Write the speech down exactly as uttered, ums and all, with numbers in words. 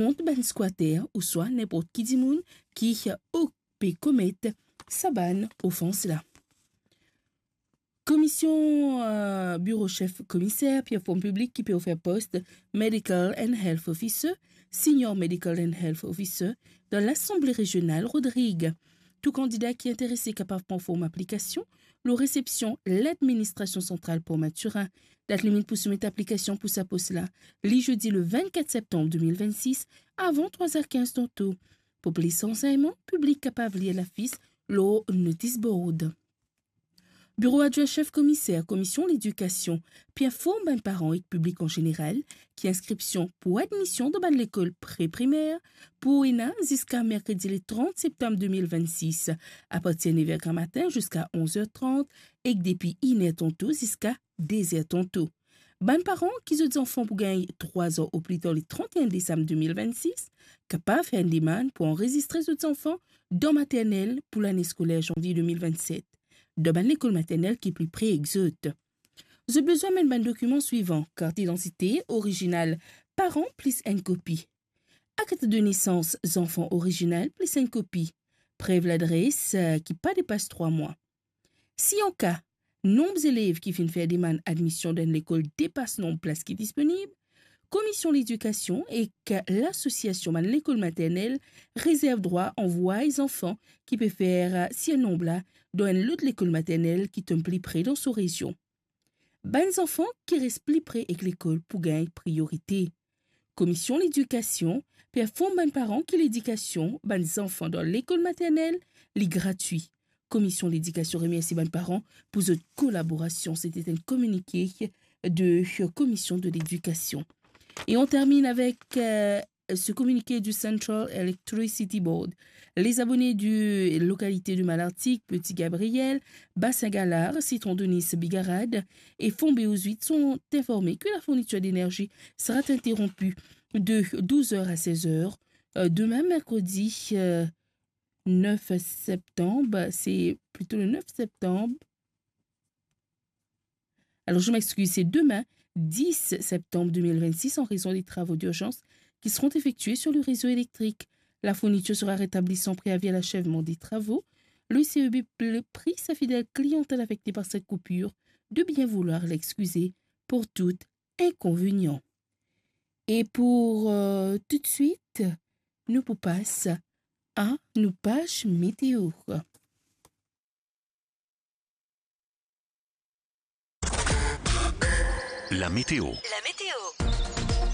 kont bann skwater ouswa ninport ki dimoun ki, eh, pe komet sa bann ofans la. Komisyon, eh, Biro Sef Komiser pe inform piblik ki pe ofer post Medical and Health Officer, Senior Medical and Health Officer dan Lasanble Rezional Rodrig. Tou kandida ki interese kapav pran form aplikasion lor resepsion Ladministrasion Santral Port Mathurin. Dat limit pou soumet aplikasion pou sa pos la, li zedi le vennkat septanm de mil vennsis, avan trwa er kinz dan to. Pou plis ransegnman, piblik kapav lir lafis lor notis board. Biro Adwin Sef Komiser Komisyon Ledikasion pe inform bann paran ek piblik an zeneral ki inskripsion pou admision dan bann lekol pre-primer pou ena ziska merkredi le trant septanm de mil vennsis, apartir nef er gramatin ziska onz er trant, ek depi inn er tanto ziska de zer tanto. Bann paran ki zot zanfan pou gagn trwa zan oplita le trant e enn desam de mil vennsis, kapav fer enn demann pou anrezistre zot zanfan dan maternel pou lane skoler zanvie de mil vennset, dan bann lekol maternel ki pli pre ek zot. Zot bizin amenn bann dokiman swivan: kart idantite orizinal paran plis enn kopi, akt de nesans zanfan orizinal plis enn kopi, prev ladres, eh, ki pa depas trwa mwa. Si an ka nonb zelev ki finn fer demann admision dan enn lekol depas nonb plas ki disponib, Komisyon Ledikasion ek Lasosiasion Bann Lekol Maternel rezerv drwa anvway zanfan ki pe fer sirnonb la dan enn lot lekol maternel ki tom pli pre dan so rezion. Bann zanfan ki res pli pre ek lekol pou gagn priyorite. Komisyon Ledikasion pe inform bann paran ki ledikasion bann zanfan dan lekol maternel, li gratwi. Komisyon Ledikasion remersi bann paran pou zot kolaborasion. Sete enn kominike de Commission de l'Éducation. Et on termine avec, euh, ce communiqué du Central Electricity Board. Les abonnés du localité de Malartic, Petit Gabriel, Bassin Galard, Citron de Nice, Bigarade et Fombé aux Huit sont informés que la fourniture d'énergie sera interrompue de douze heures à seize heures, euh, demain mercredi, euh, neuf septembre, c'est plutôt le neuf septembre. Alors, je m'excuse, c'est demain, dix septembre deux mille vingt-six, en raison des travaux d'urgence qui seront effectués sur le réseau électrique. La fourniture sera rétablie sans préavis à l'achèvement des travaux. Le C E B pl-, prie sa fidèle clientèle affectée par cette coupure de bien vouloir l'excuser pour tout inconvénient. Et pour, euh, tout de suite, nou pou pas a nou paz meteo. La météo.